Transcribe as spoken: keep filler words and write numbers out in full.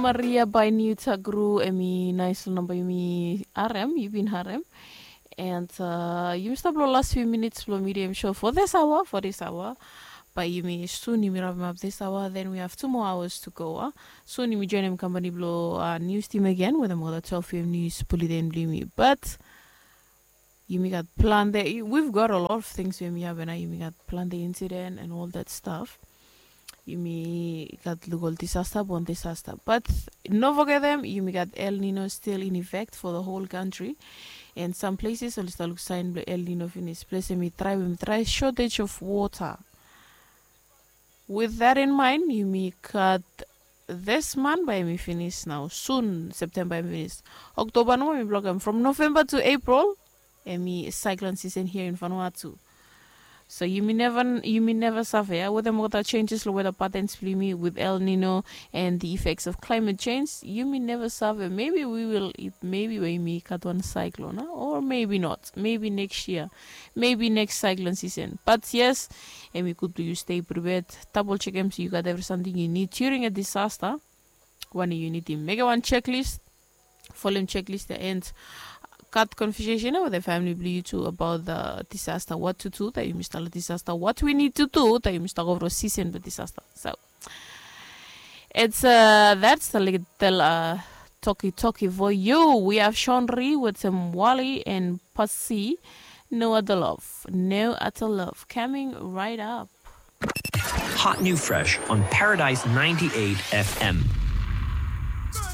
Maria by New Tagru, em i nais long namba yumi harem, yu bin harem. And uh, yumi stap long last few minutes long medium show for this hour, for this hour. By yumi soon yumi wrap up this hour, then we have two more hours to go. Uh. Soon yumi join him company below uh, news team again with another twelve p.m. news bulletin blimi. But yumi gat plante, we've got a lot of things we yumi have, and yumi gat plante incident and all that stuff. Yumi gat luk ol disaster upon disaster. But no forget them, yumi gat El Nino still in effect for the whole country. And some places oli start luk sign blong El Nino finish. Place yumi try, yumi try shortage of water. With that in mind, yumi gat this month by yumi finish now. Soon September yumi finish. October no yumi block them. From November to April, yumi cyclone season here in Vanuatu. So yumi never yumi never suffer, yeah? Weather mokota changes lo weather patterns blimi with El Nino and the effects of climate change. Yumi never suffer. Maybe we will, maybe we may cut one cyclone, huh? Or maybe not. Maybe next year. Maybe next cyclone season. But yes, and we could do you stay prepared. Double check M C you got every something you need during a disaster. When you need him, make one checklist. Follow him checklist and cut conversation with the family blue too about the disaster. What to do that you must tell disaster. What we need to do that you must talk over season the disaster. So it's uh that's the little uh talkie talkie for you. We have Sean Ree with some Wally and Pasi. No other love. No other love. Coming right up. Hot new fresh on Paradise ninety-eight F M.